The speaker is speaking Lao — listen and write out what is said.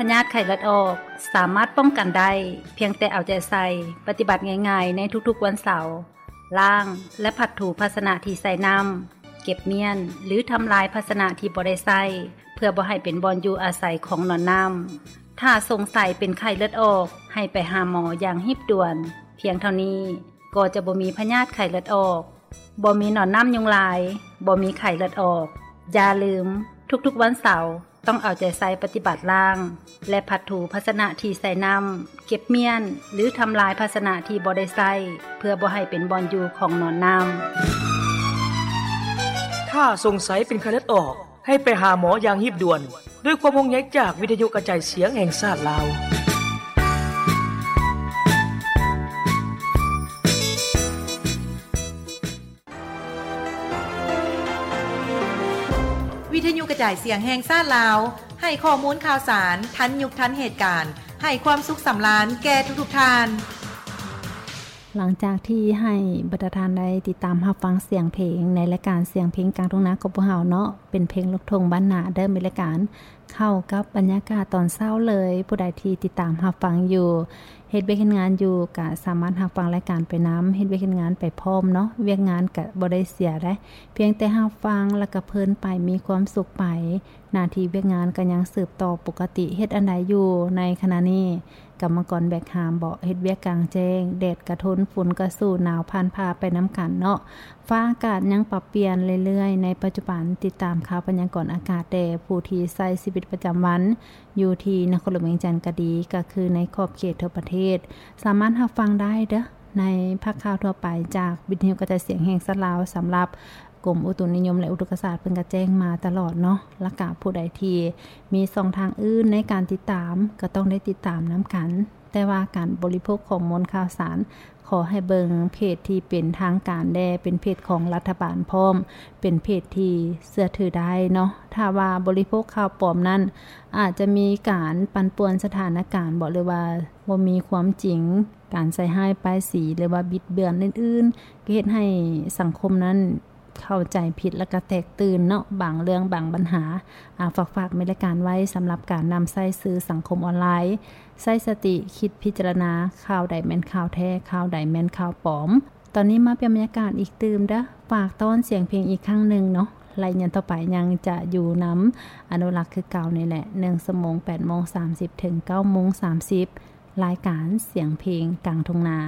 ພະຍາດໄຂ້ເລືອດອອກສາມາດປ້ອງກັນໄດ້ ພຽງແຕ່ເອົາໃຈໃສ່ປະຕິບັດງ່າຍໆໃນທຸກໆວັນເສົາ, ລ້າງ ແລະ ຜັດຖູພາຊະນະທີ່ໃສ່ນ້ຳ, ເກັບມ້ຽນ ຫຼື ທຳລາຍພາຊະນະທີ່ບໍ່ໄດ້ໃຊ້ ເພື່ອບໍ່ໃຫ້ເປັນບ່ອນຢູ່ອາໄສຂອງໜອນນ້ຳ. ຖ້າສົງໄສເປັນໄຂ້ເລືອດອອກ ໃຫ້ໄປຫາໝໍຢ່າງຮີບດ່ວນ. ພຽງເທົ່ານີ້ກໍຈະບໍ່ມີພະຍາດໄຂ້ເລືອດອອກ, ບໍ່ມີໜອນນ້ຳຍຸງລາຍ, ບໍ່ມີໄຂ້ເລືອດອອກ. ຢ່າລືມ, ທຸກໆວັນເສົາ ຕ້ອງເອົາໃຈໃສ່ປະຕິບັດລ້າງ ແລະ ຜັດຖູພາຊະນະທີ່ໃສ່ນ້ຳ, ເກັບມ້ຽນ ຫຼື ທຳລາຍພາຊະນະທີ່ບໍ່ໄດ້ໃຊ້ ເພື່ອບໍ່ໃຫ້ເປັນບ່ອນຢູ່ຂອງໜອນນ້ຳ. ຖ້າສົງໄສເປັນໄຂ້ເລືອດອອກ, ໃຫ້ໄປຫາໝໍຢ່າງຮີບດ່ວນ. ດ້ວຍຄວາມຫ່ວງໃຍຈາກວິທະຍຸກະຈາຍສຽງແຫ່ງຊາດລາວ. ວິທະຍຸກະຈາຍສຽງແຫ່ງຊາດລາວ ໃຫ້ຂໍ້ມູນຂ່າວສານ ທັນຍຸກທັນເຫດການ, ໃຫ້ຄວາມສຸກສຳລານແກ່ທຸກໆທ່ານ. ຫຼັງຈາກທີ່ໃຫ້ບັນດາທ່ານໄດ້ຕິດຕາມຮັບຟັງສຽງເພງໃນລາຍການສຽງເພງກາງທົ່ງນາຂອງພວກເຮົາເນາະ, ເປັນເພງລູກທົ່ງບ້ານນາເດີ ມີລາຍການເຂົ້າກັບບັນຍາກາດຕອນເຊົ້າເລີຍ. ຜູ້ໃດທີ່ຕິດຕາມຮັບຟັງຢູ່, ເຮັດວຽກເຮັດງານຢູ່, ກະສາມາດຮັບຟັງລາຍການໄປນຳ, ເຮັດວຽກເຮັດງານໄປພ້ອມເນາະ, ວຽກງານກະບໍ່ໄດ້ເສຍໃດ໋, ພຽງແຕ່ຮັບຟັງແລ້ວກະເພີນໄປ, ມີຄວາມສຸກໄປ. ໜ້າທີ່ວຽກງານກໍຍັງສືບຕໍ່ປົກກະຕິ. ເຮັດອັນໃດຢູ່ໃນຂະນະນີ້? ກຳມະກອນແບກຫາມເບາະ, ເຮັດວຽກກາງແຈ້ງ, ແດດກະທົນ, ຝົນກະສູ້, ໜາວຜ່ານຜ່າໄປນຳກັນເນາະ. ຟ້າອາກາດຍັງປັບປ່ຽນເລື້ອຍໆ. ໃນປັດຈຸບັນ, ຕິດຕາມຂ່າວພະຍາກອນອາກາດແດ່, ຜູ້ທີ່ໃຊ້ຊີວິດປະຈຳວັນຢູ່ທີ່ນະຄອນຫຼວງວຽງຈັນກໍດີ, ກໍຄືໃນຂອບເຂດທົ່ວປະເທດ, ສາມາດຮັບຟັງໄດ້ເດີ ໃນພາກຂ່າວທົ່ວໄປຈາກວິທະຍຸກະຈາຍສຽງແຫ່ງຊາດລາວ. ສຳລັບ ກົມອຸຕຸນິຍົມ ແລະ ອຸທົກກະສາດ ເພິ່ນກໍແຈ້ງມາຕະຫຼອດເນາະ. ແລ້ວກະຜູ້ໃດທີ່ມີຊ່ອງທາງອື່ນໃນການຕິດຕາມ ກໍຕ້ອງໄດ້ຕິດຕາມນຳກັນ. ແຕ່ວ່າການບໍລິໂພກຂໍ້ມູນຂ່າວສານ ຂໍໃຫ້ເບິ່ງເພຈທີ່ເປັນທາງການແດ່, ເປັນເພຈຂອງລັດຖະບານພ້ອມ, ເປັນເພຈທີ່ເຊື່ອຖືໄດ້ເນາະ. ຖ້າວ່າບໍລິໂພກຂ່າວປອມນັ້ນ ອາດຈະມີການປັ່ນປ່ວນສະຖານະການບໍ ຫຼືວ່າບໍ່ມີຄວາມຈິງ, ການໃສ່ຮ້າຍປ້າຍສີ ຫຼືວ່າບິດເບືອນອື່ນໆ ກໍເຮັດໃຫ້ສັງຄົມນັ້ນ ເຂົ້າໃຈຜິດ ແລ້ວກໍແຕກຕື່ນເນາະ ບາງເລື່ອງບາງບັນຫາ. ອາ ຝາກໆ ແມ່ນລາຍການໄວ້ສຳລັບການນຳໃຊ້ສື່ສັງຄົມອອນລາຍ. ໃຊ້ສະຕິຄິດພິຈາລະນາ ຂ່າວໃດແມ່ນຂ່າວແທ້, ຂ່າວໃດແມ່ນຂ່າວປອມ. ຕອນນີ້ມາປ່ຽນບັນຍາກາດອີກຕື່ມເດີ. ຝາກຕ້ອນສຽງເພງອີກຄັ້ງໜຶ່ງເນາະ. ໄລຍະຕໍ່ໄປຍັງຈະຢູ່ນຳອະນຸລັກຄືເກົ່ານີ້ແຫຼະ, ໜຶ່ງຊົ່ວໂມງ ແປດໂມງສາມສິບ ເຖິງ ເກົ້າໂມງສາມສິບ. ລາຍການສຽງເພງກາງທົ່ງນາ.